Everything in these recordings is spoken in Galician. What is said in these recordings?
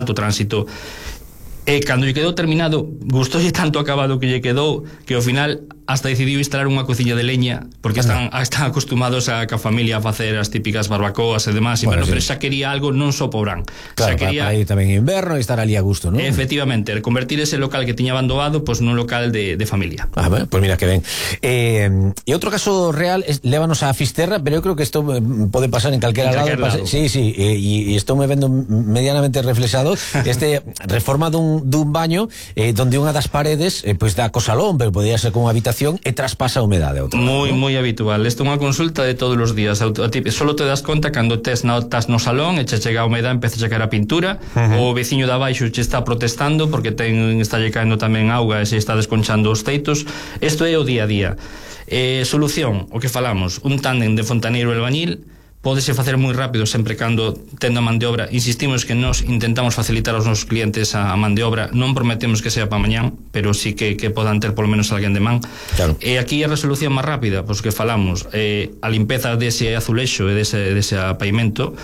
alto tránsito. E cando lle quedou terminado, gustoulle tanto acabado que lle quedou, que ao final hasta decidiu instalar unha cociña de leña, porque están acostumados a a familia a facer as típicas barbacoas e demás, bueno, pero xa quería algo non só po verán. Claro, xa quería para ir tamén en inverno e estar ali a gusto, non? Efectivamente, convertir ese local que tiña abandonado nun local de familia. Bueno, pues mira que ben. E outro caso real lévanos a Fisterra, pero eu creo que isto pode pasar en calquera lado. Sí, e estou me vendo medianamente reflexado reforma dun baño donde unha das paredes pois dá co salón, pero podría ser con unha habitación e traspasa a humedade. Moi habitual. Isto é unha consulta de todos os días. Solo te das conta cando estás no salón e che chega a humedade, empeza a caer a pintura, o veciño de abaixo che está protestando porque está lle caendo tamén auga e se está desconchando os teitos. Isto é o día a día. Solución, o que falamos, un tándem de fontaneiro e albañil. Pódese facer moi rápido sempre cando tendo a man de obra. Insistimos que nos intentamos facilitar aos nosos clientes a man de obra, non prometemos que sea para mañán, pero sí que podan ter polo menos alguén de man. Claro. E aquí a resolución máis rápida, pois que falamos, a limpeza dese azulexo e dese pavimento,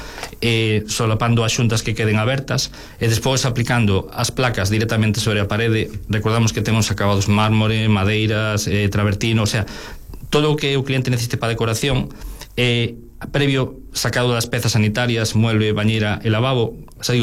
solapando as xuntas que queden abertas e despois aplicando as placas directamente sobre a parede. Recordamos que temos acabados mármore, madeiras, travertino, o sea, todo o que o cliente necesite para decoración, previo sacado das pezas sanitarias, mueble, bañera e lavabo,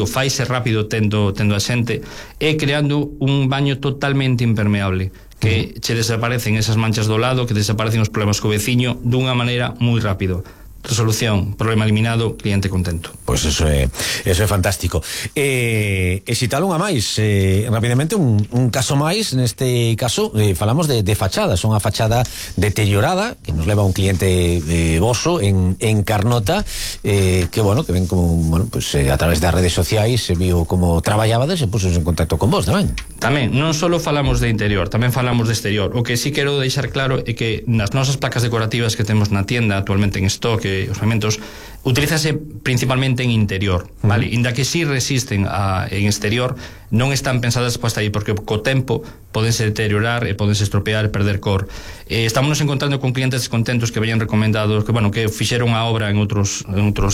faise rápido tendo a xente, e creando un baño totalmente impermeable, que che desaparecen esas manchas do lado, que desaparecen os problemas co veciño dunha maneira moi rápido. Resolución, problema eliminado, cliente contento. Pois eso é fantástico. E citar unha máis, rapidamente un caso máis, neste caso falamos de fachada, son a fachada deteriorada que nos leva un cliente voso en Carnota, que ven como a través das redes sociais se viu como traballabades e pusos en contacto con vos tamén. Tamén, non só falamos de interior, tamén falamos de exterior. O que sí quero deixar claro é que nas nosas placas decorativas que temos na tienda actualmente en stock, os pavamentos, utilízase principalmente en interior, vale? Inda que sí resisten en exterior, non están pensadas para estar aí, porque co tempo podense deteriorar e podense estropear e perder cor. Estamos nos encontrando con clientes descontentos que veñan recomendados, que fixeron a obra en outros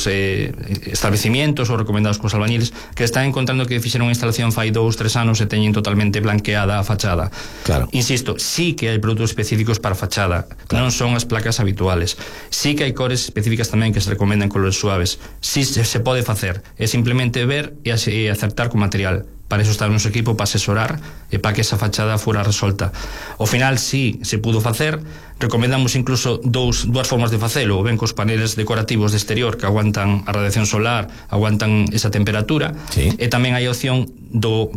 establecimientos ou recomendados cos albañiles, que están encontrando que fixeron a instalación fai 2-3 anos e teñen totalmente blanqueada a fachada. Claro. Insisto, sí que hai produtos específicos para a fachada, non son as placas habituales. Sí que hai cores específicas tamén que se recomendan colores suaves. Sí se pode facer, é simplemente ver e acertar co material. Para eso está o noso equipo, para asesorar e para que esa fachada fora resolta. Ao final, sí, se pudo facer. Recomendamos incluso dúas formas de facelo, ben cos paneles decorativos de exterior que aguantan a radiación solar, aguantan esa temperatura, sí. E tamén hai a opción do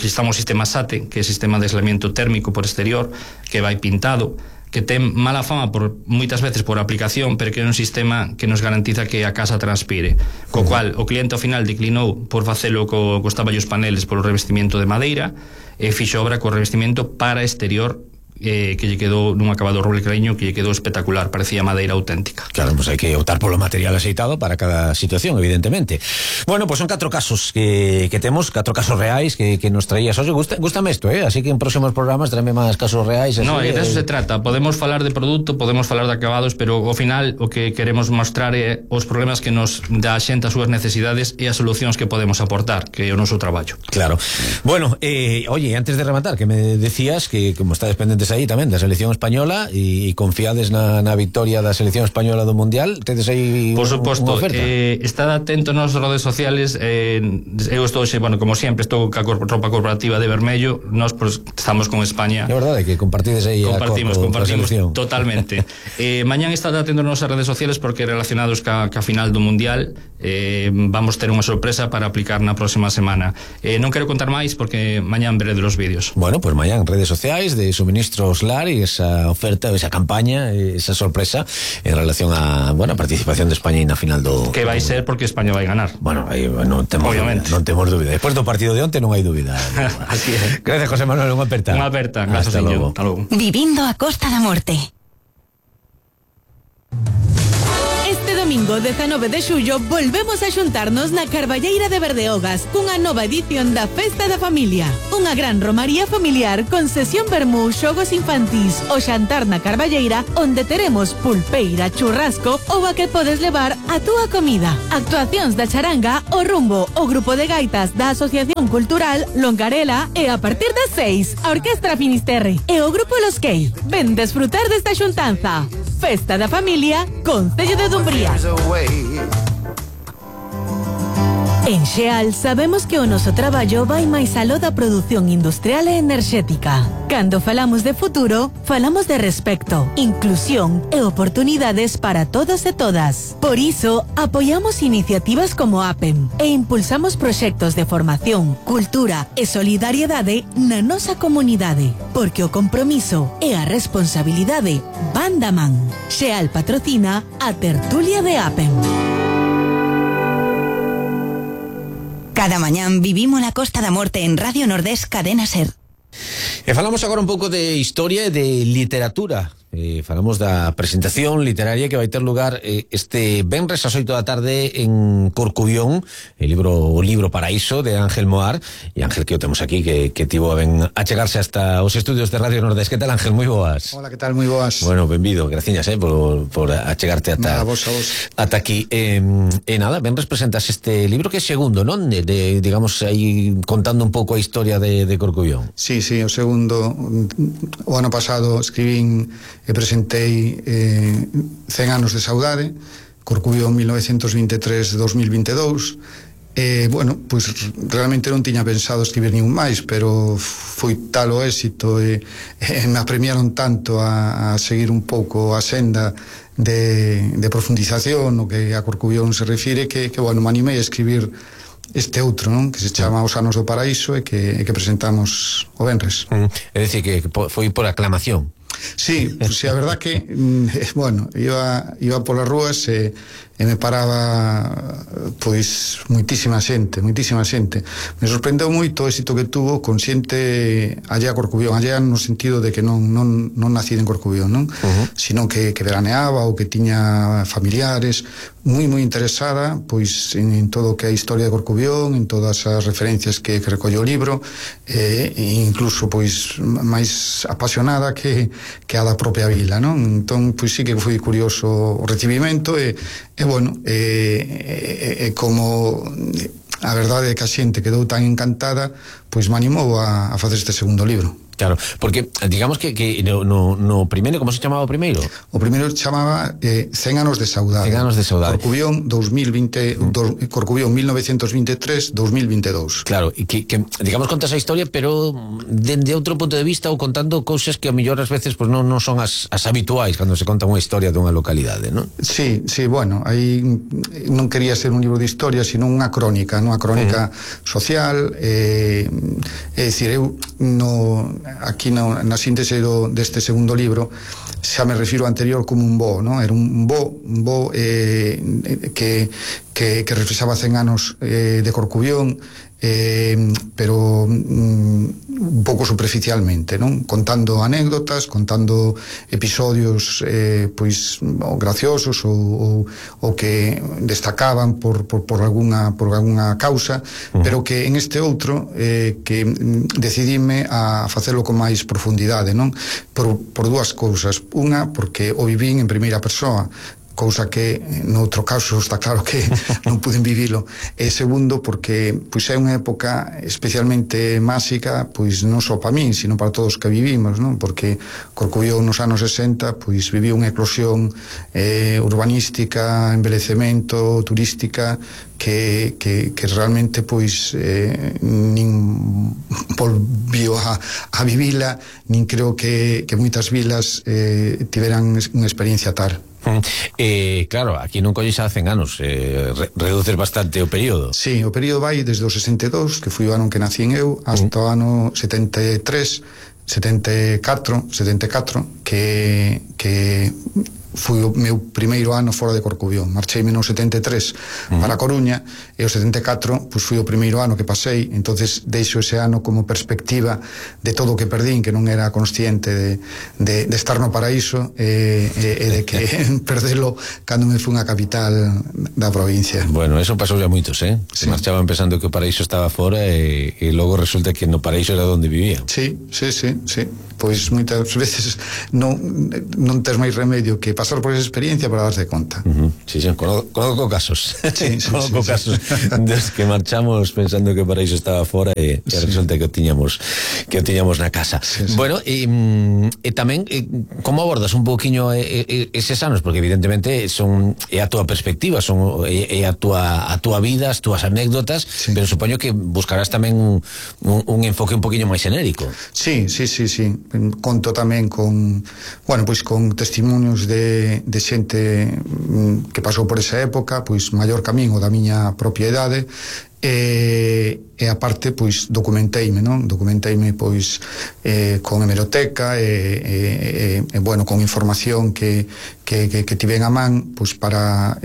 que estamos sistema SATE, que é sistema de aislamiento térmico por exterior, que vai pintado, que ten mala fama moitas veces por aplicación, pero que é un sistema que nos garantiza que a casa transpire, co cual o cliente ao final declinou por facelo cos taballos paneles polo revestimento de madeira e fixo obra co revestimento para exterior, que lle quedou nun acabado roble creño que lle quedou espectacular, parecía madeira auténtica. Claro, pues hai que optar polo material aceitado para cada situación, evidentemente. Bueno, pues son 4 casos que temos, 4 casos reais que nos traías. Oye, gústame isto, así que en próximos programas tráeme máis casos reais. No, e de eso se trata. Podemos falar de produto, podemos falar de acabados, pero ao final o que queremos mostrar é os problemas que nos dá a xente, as súas necesidades e as solucións que podemos aportar, que é o noso traballo. Claro. Bueno, oye, antes de rematar, que me decías que como estades pendentes aí tamén da selección española e confiades na victoria da selección española do Mundial, tedes aí por suposto, unha oferta? Estad atento nas redes sociales. Eu estou, como sempre, estou ca roupa corporativa de vermello. Nós estamos con España. É verdade que compartides aí compartimos a selección totalmente. Mañán estad atento nas redes sociales porque relacionados ca final do Mundial vamos ter unha sorpresa para aplicar na próxima semana. Non quero contar máis porque mañán veré de los vídeos. Bueno, pues mañán redes sociais de Suministros LAR e esa oferta, esa campaña, esa sorpresa en relación a participación de España na final do... Que vai ser porque España vai ganar. Bueno, aí non temos dúbida. Despois do partido de onte non hai dúbida. Así é. Gracias, José Manuel, unha aperta. Hasta logo. Vivindo a Costa da Morte. Este domingo 19 de xullo volvemos a xuntarnos na Carballeira de Berdeogas cunha nova edición da Festa da Familia. Unha gran romaría familiar con sesión vermú, xogos infantís, o xantar na Carballeira onde teremos pulpeira, churrasco ou a que podes levar a túa comida. Actuacións da charanga, o rumbo, o grupo de gaitas da Asociación Cultural Longarela e a partir das 6 a Orquestra Finisterre e o grupo Los Key. Ven desfrutar desta xuntanza. Festa da Familia, Concello de Dumbría. En Xeal sabemos que o noso traballo vai máis aló da produción industrial e enerxética. Cando falamos de futuro, falamos de respecto, inclusión e oportunidades para todos e todas. Por iso, apoiamos iniciativas como APEM e impulsamos proxectos de formación, cultura e solidariedade na nosa comunidade, porque o compromiso e a responsabilidade van da man. Xeal patrocina a tertulia de APEM. Cada mañán vivimos la Costa da Morte en Radio Nordés Cadena Ser. E falamos agora un pouco de historia e de literatura. Falamos da presentación literaria que vai ter lugar este venres ás 8 da tarde en Corcubión, o libro Paraíso de Ángel Moar, e Ángel que o temos aquí que tivo a ben achegarse hasta os estudios de Radio Nordés. Que tal, Ángel? Moi boas. Hola, que tal? Moi boas. Bueno, benvido, graciñas por achegarte ata ata aquí. E nada, venres presentas este libro que é segundo, non? Digamos aí contando un pouco a historia de Corcubión. Sí, o segundo. O ano pasado escribín e presentei 100 anos de saudade, Corcubión 1923-2022. Bueno, pois realmente non tiña pensado escribir ningún máis, pero foi tal o éxito e me apremiaron tanto a seguir un pouco a senda de profundización no que a Corcubión se refire que bueno, me animei a escribir este outro, non? Que se chama Os anos do paraíso e que presentamos o venres. É dicir, que foi por aclamación. Sí, pues sí, a verdad que bueno, iba polas rúas e me paraba pois moitísima xente. Me sorprendeu moito o éxito que tuvo con xente allá a Corcubión, allá no sentido de que non nacida en Corcubión, non? Sino que veraneaba ou que tiña familiares, moi interesada pois en todo o que é a historia de Corcubión, en todas as referencias que recolle o libro, e incluso pois máis apasionada que a da propia vila, non? Entón, pois sí que foi curioso o recibimento e bueno, como a verdade é que a xente quedou tan encantada, pois me animou a facer este segundo libro. Claro, porque digamos que no primeiro, como se chamaba o primeiro? O primeiro chamaba 100 anos de saudade. 100 anos de saudade. Corcubión 1923-2022. Claro, e que digamos contas a historia, pero dende outro punto de vista ou contando cousas que a mellor ás veces pues, non son as habituais cando se conta unha historia dunha localidade, non? Sí, bueno, aí non quería ser un libro de historia, sino unha crónica, unha crónica social, é dicir, eu aquí na síntese deste segundo libro xa me refiro ao anterior como un bo, non? Era un bo que reflexaba 100 anos de Corcubión, pero un pouco superficialmente, non? Contando anécdotas, contando episodios pois graciosos ou que destacaban por alguna causa, pero que en este outro que decidime a facelo con máis profundidade, non? Por dúas cousas. Unha, porque o vivín en primeira persoa, cousa que noutro caso está claro que non puden vivilo, e segundo porque pois é unha época especialmente máxica, pois non só para min, sino para todos que vivimos, non? Porque Corcubión nos anos 60 pois viviu unha eclosión urbanística, envelecemento, turística que realmente pois nin volvió a vivila, nin creo que moitas vilas tiveran unha experiencia tal. Claro, aquí non colles a 100 anos, reduces bastante o período. Sí, o período vai desde o 62, que foi o ano que nací eu, hasta o ano 73, 74, que foi o meu primeiro ano fora de Corcubión. Marcheime no 73 para a Coruña, e o 74 pois foi o primeiro ano que pasei. Entonces deixo ese ano como perspectiva de todo o que perdín, que non era consciente de estar no paraíso, e de que perdelo cando me fui a capital da provincia. Bueno, eso pasou ya moitos, Sí. Marchaban pensando que o paraíso estaba fora e logo resulta que no paraíso era onde vivían. Sí. Pois moitas veces non tes máis remedio que pasar por esa experiencia para darse conta. Sí, conozco casos. Sí, casos dos que marchamos pensando que o paraíso estaba fora e resulta que o tiñamos na casa. Bueno, e tamén como abordas un pouquiño eses anos, porque evidentemente é a túa perspectiva, é a túa vida, as túas anécdotas, pero supoño que buscarás tamén un enfoque un poquinho máis xenérico. Sí. Conto tamén con testimonios de xente que pasou por esa época, pois maior camiño da miña propia idade, e aparte pois documenteime pois con hemeroteca e con información que tiven a man pois para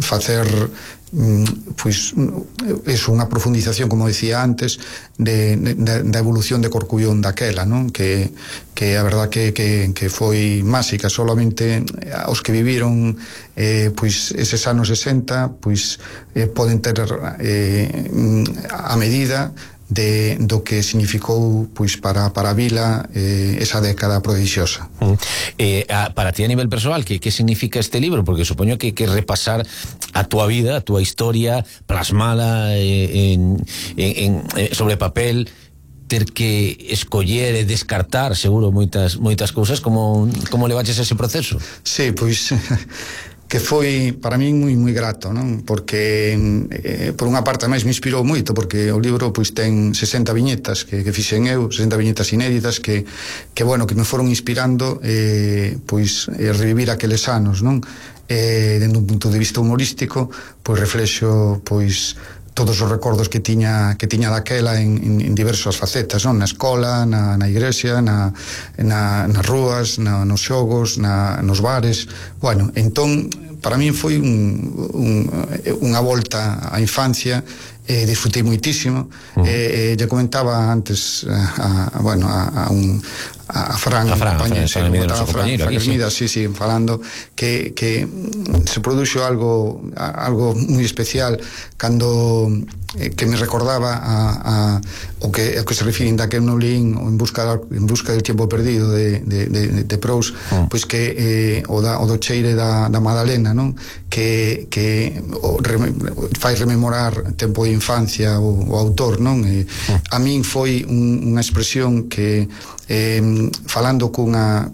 facer pois eso, unha profundización, como decía antes, da evolución de Corcubión daquela, non? Que a verdad que foi máxica. Solamente os que viviron pois eses anos 60 pois poden ter a medida do que significou pois para a vila esa década prodixiosa. Para ti a nivel persoal, que significa este libro? Porque supoño que repasar a túa vida, a túa historia, plasmala sobre papel, ter que escoller e descartar seguro moitas cousas. Como levaches ese proceso? Sí, pois que foi para min moi grato, non? Porque por unha parte máis me inspirou moito, porque o libro pois ten 60 viñetas que fixen eu, 60 viñetas inéditas que me foron inspirando pois revivir aqueles anos, non? Dende un punto de vista humorístico, pois reflexo pois todos os recordos que tiña daquela en diversas facetas, non? Na escola, na igrexa, nas rúas, nos xogos, nos bares. Bueno, entón para min foi unha volta á infancia. Disfrutei moitísimo. Lle comentaba antes a Fran Hermida, falando que se produxo algo moi especial cando que me recordaba o que se refiren daquel no lín En busca del tiempo perdido de Proust, pois que o do cheire da Madalena, non? Que fai rememorar tempo de infancia o autor, non? A min foi unha expresión que falando cunha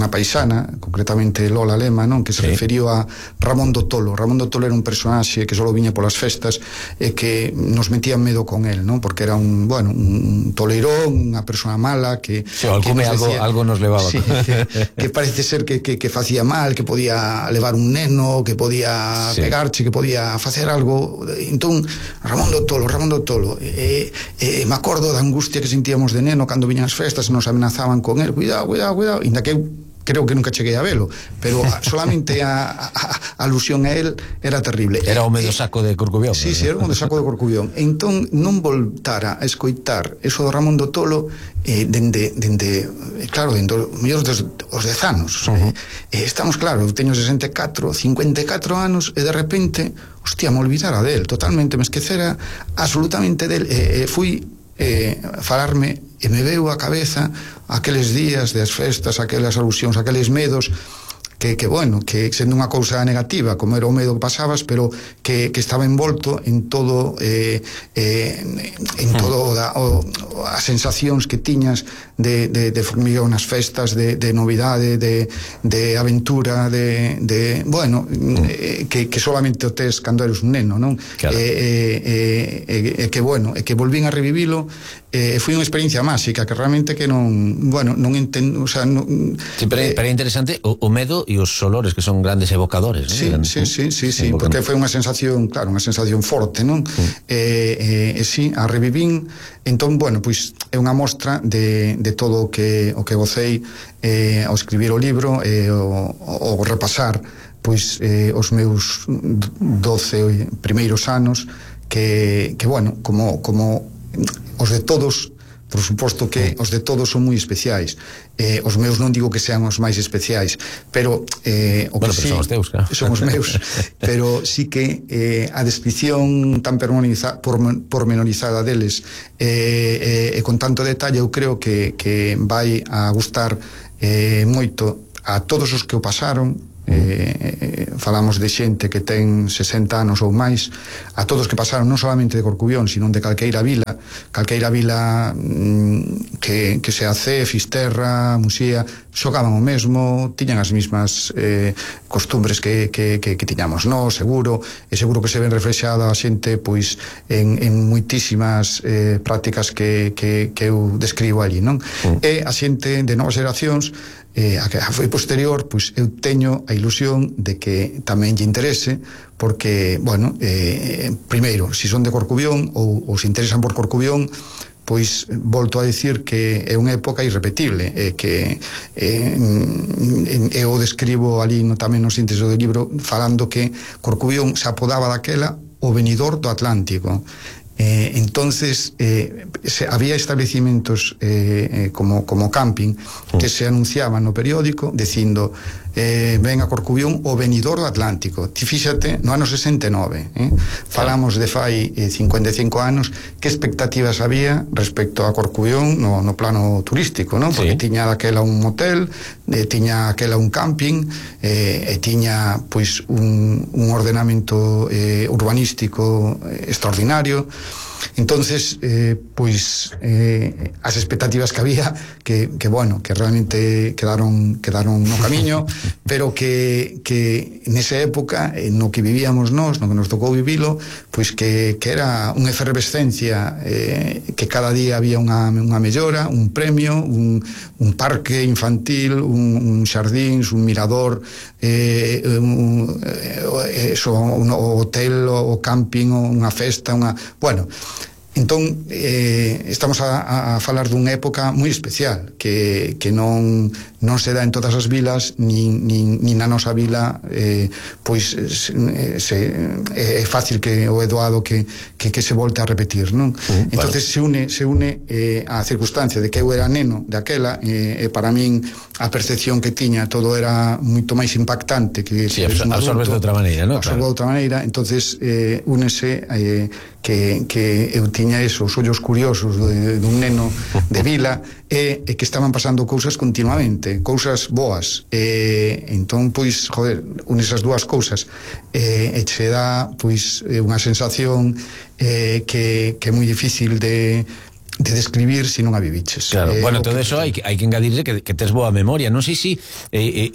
paisana, concretamente Lola Lema, non? Que se referiu a Ramón do Tolo. Ramón do Tolo era un personaxe que só viña polas festas e que nos metían medo con él, non? Porque era un toleirón, unha persona mala que algo nos levaba. Sí, que parece ser que facía mal, que podía levar un neno, que podía pegarche, que podía facer algo. Entón, Ramón do Tolo. Me acordo da angustia que sentíamos de neno cando viñan as festas e nos amenazaban con él. Cuidado. Inda que eu creo que nunca cheguei a velo, pero solamente a alusión a él era terrible. Era o medio saco de Corcubión. Sí, era o medio saco de Corcubión. Entón non voltara a escoitar eso do Ramón do Tolo dende mellor os 10 anos. Estamos claro, eu teño 54 anos e de repente, hostia, me olvidara del, totalmente me esquecera absolutamente del. Fui falarme e me veu a cabeza aqueles días das festas, aquelas alusións, aqueles medos que sendo unha cousa negativa como era o medo que pasabas, pero que estaba envolto en todo as sensacións que tiñas de formigueo nas festas, de novidade, de aventura, que solamente o tes cando eres un neno, non? Claro. Que volvín a revivilo foi unha experiencia máxica que realmente que non entendo, o sea, sí, pero é interesante o medo e os olores que son grandes evocadores, ¿no? Sí, porque foi unha sensación, claro, unha sensación forte, non? Sí, a revivín. Entón, bueno, pois é unha mostra de todo o que gocei ao escribir o libro e ao repasar pois os meus 12 primeiros anos que bueno, como os de todos, por suposto que os de todos son moi especiais. Os meus non digo que sean os máis especiais, pero o que sí, son os teus, claro. Son os meus, pero sí que a descripción tan pormenorizada deles e con tanto detalle, eu creo que vai a gustar moito a todos os que o pasaron. Falamos de xente que ten 60 anos ou máis, a todos que pasaron non solamente de Corcubión, sino de calqueira vila que sea Cee, Fisterra, Musía, xogaban o mesmo, tiñan as mesmas costumbres que tiñamos nós, seguro que se ven reflexada a xente pois en moitísimas prácticas que eu describo ali, non? E a xente de novas xeracións a que foi posterior, pois eu teño a ilusión de que tamén lle interese, porque, bueno, primeiro, se son de Corcubión ou se interesan por Corcubión, pois volto a dicir que é unha época irrepetible, que eu describo ali tamén no síntese do libro, falando que Corcubión se apodaba daquela o venidor do Atlántico. Entonces había establecimientos como camping que se anunciaban no periódico dicindo ven a Corcubión o venidor do Atlántico. Ti fíxate, no ano 69 falamos de fai 55 anos, que expectativas había respecto a Corcubión no plano turístico, non? Porque tiña daquela un hotel, tiña aquela un camping, e tiña pois un ordenamento urbanístico extraordinario. Entonces pois as expectativas que había que bueno, que realmente quedaron no camiño, pero que nesa época no que vivíamos nós, no que nos tocou vivilo, pois que era unha efervescencia, que cada día había unha mellora, un premio, un parque infantil, un xardín, un mirador, un hotel, o camping, unha festa, bueno. Entón, estamos a falar dunha época moi especial que non se dá en todas as vilas, nin na nosa vila, pois é fácil que o Eduardo que se volte a repetir, non? Entonces se une a circunstancia de que eu era neno daquela, e para min a percepción que tiña todo era moito máis impactante que absorbes de outra maneira, non? Absorbo de outra maneira, entonces únese que eu tiña esos ollos curiosos dun neno de vila e que estaban pasando cousas continuamente, cousas boas, entón pois, joder, unes as dúas cousas e che dá pois unha sensación que é moi difícil de describir se non a viviches. Claro, bueno, todo eso hai que engadirle que tes boa memoria. Non sei se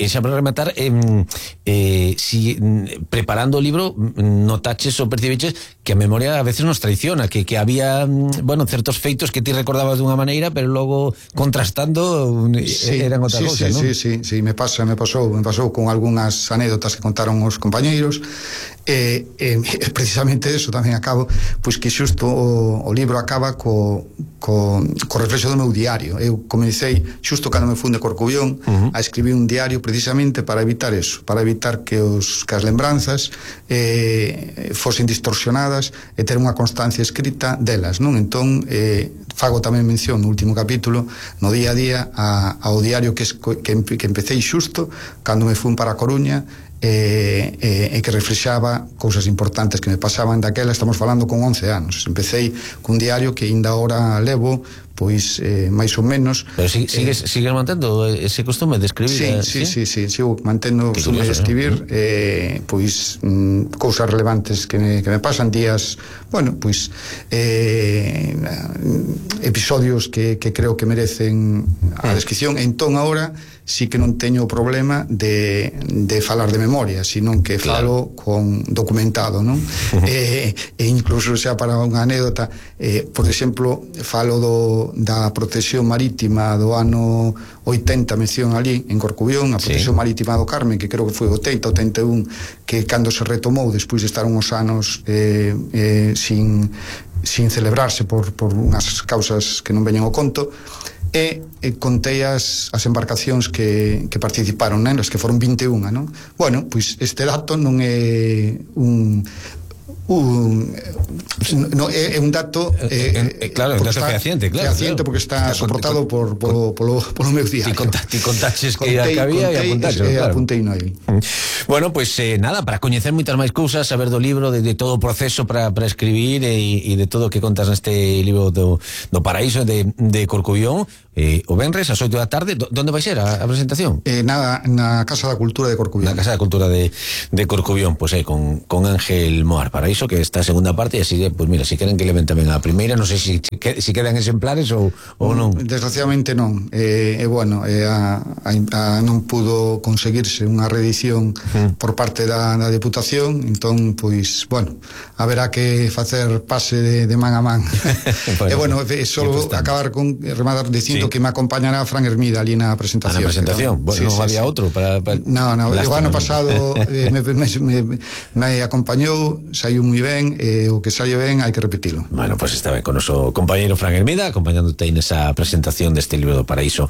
xa para rematar, si preparando o libro notaches ou percibiches que a memoria a veces nos traiciona, que había, bueno, certos feitos que ti recordabas dunha maneira, pero logo contrastando eran outra cousa, non? Sí, me pasou con algunhas anécdotas que contaron os compañeiros, precisamente eso tamén acabo, pois que xusto o libro acaba co reflexo do meu diario. Eu comecei xusto cando me fun de Corcubión a escribir un diario precisamente para evitar eso, para evitar que as lembranzas fosen distorsionadas e ter unha constancia escrita delas, non? Entón fago tamén mención no último capítulo, no día a día, ao diario que empecéi xusto cando me fun para a Coruña, e que reflexaba cousas importantes que me pasaban daquela. Estamos falando con 11 anos. Empecéi cun diario que ainda ahora levo pois máis ou menos. Pero sigues mantendo ese costume de escribir? Sí, sigo mantendo o costume de escribir, pois cousas relevantes que me pasan, días, bueno, pois eu episodios que creo que merecen a descripción. Entón agora sí que non teño o problema de falar de memoria, sino que falo con documentado, non? E incluso xa para unha anécdota, por exemplo, falo da protección marítima do ano 80, mención ali en Corcubión, a protección marítima do Carmen, que creo que foi 80, 81, que cando se retomou despois de estar uns anos sin celebrarse por unhas causas que non veñen ao conto, e contei as embarcacións que participaron nelas, que foron 21, non? Bueno, pois este dato non é é un dato claro, un dato fehaciente, porque está soportado polo meu diario. Ti contaches que había e apuntaches, claro. Apuntei no aí. Bueno, pues nada, para coñecer moitas máis cousas, saber do libro, de todo o proceso para escribir e de todo o que contas neste libro do Paraíso de Corcubión, o venres ás 8 da tarde. Donde vai ser a presentación? Na Casa da Cultura de Corcubión. Na Casa da Cultura de Corcubión, pues con Ángel Moar. Paraíso, que está a segunda parte, e así, pues mira, si queren que leven tamén a primeira, non sei si quedan exemplares ou non. Desgraciadamente non. Bueno, non pudo conseguirse unha reedición por parte da Deputación, entón, pois, bueno, haberá que facer pase de man a man. E bueno, só acabar con rematar dicindo que me acompañará Fran Hermida ali na presentación. Na presentación? Bueno, non había outro para... No, o ano pasado me acompañou, saiu moi ben, o que saio ben hai que repetilo. Bueno, pues está ben con o noso compañeiro Fran Hermida, acompañándote nesa presentación deste libro do Paraíso.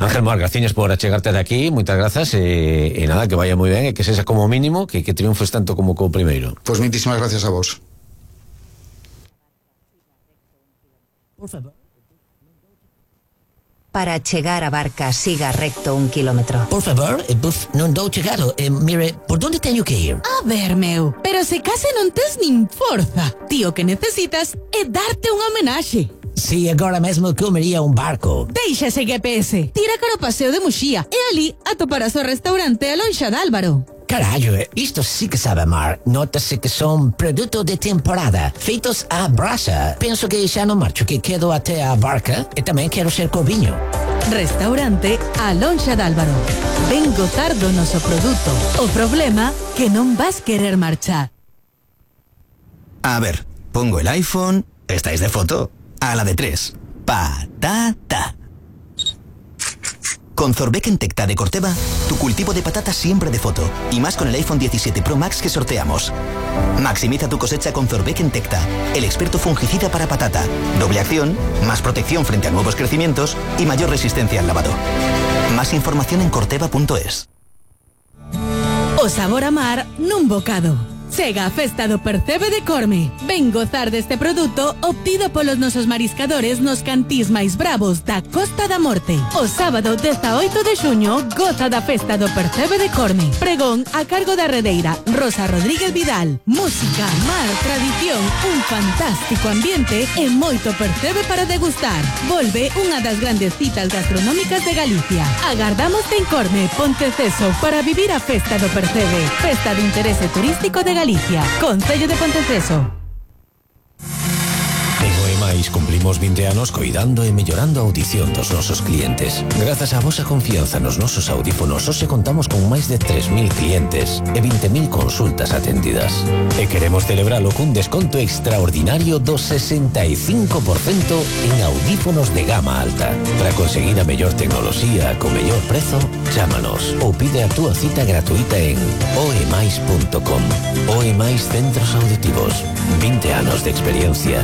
Ángel Moar, graciñas por achegarte de aquí, moitas grazas, e nada, que vaya moi ben, e que sexa como mínimo, que triunfes tanto como co primeiro. Pois moitísimas gracias a vos. Por favor. Para chegar a barca, siga recto 1 kilómetro. Por favor, non dou chegado. Mire, por onde teño que ir? A ver, meu, pero se case non tes nin forza. Tío, que necesitas é darte unha homenaxe. Si, agora mesmo comería un barco. Deixa ese GPS. Tira cara ao paseo de Muxía e ali atoparás o restaurante A Lonxa de Álvaro. Carallo, isto sí que sabe mar. Nótase que son produtos de temporada, feitos á brasa. Penso que xa non marcho, que quedo até a barca e tamén quero ser coviño. Restaurante A Lonxa de Álvaro. Ven gozar do noso produto. O problema que non vas querer marchar. A ver, pongo el iPhone. ¿Estáis de foto? A la de 3. Patata. Con Zorbeck en Tecta de Corteva, tu cultivo de patatas siempre de foto. Y más con el iPhone 17 Pro Max que sorteamos. Maximiza tu cosecha con Zorbeck en Tecta, el experto fungicida para patata. Doble acción, más protección frente a nuevos crecimientos y mayor resistencia al lavado. Más información en corteva.es. O sabor a mar nun bocado. Chega a festa do Percebe de Corme. Ven gozar deste produto obtido polos nosos mariscadores nos cantís máis bravos da Costa da Morte. O sábado 18 de xuño goza da festa do Percebe de Corme. Pregón a cargo da redeira Rosa Rodríguez Vidal. Música, mar, tradición, un fantástico ambiente e moito percebe para degustar. Volve unha das grandes citas gastronómicas de Galicia. Agardámoste en Corme, Ponteceso, para vivir a festa do Percebe. Festa de interese turístico de Galicia, Concello de Ponteceso. En OEMAIS cumplimos 20 anos coidando e mellorando a audición dos nosos clientes. Grazas á vosa confianza nos nosos audífonos, hoxe contamos con máis de 3.000 clientes e 20.000 consultas atendidas. E queremos celebralo cun desconto extraordinario do 65% en audífonos de gama alta. Para conseguir a mellor tecnoloxía co mellor prezo, chámanos ou pide a túa cita gratuita en oemais.com. OEMAIS Centros Auditivos. 20 anos de experiencia.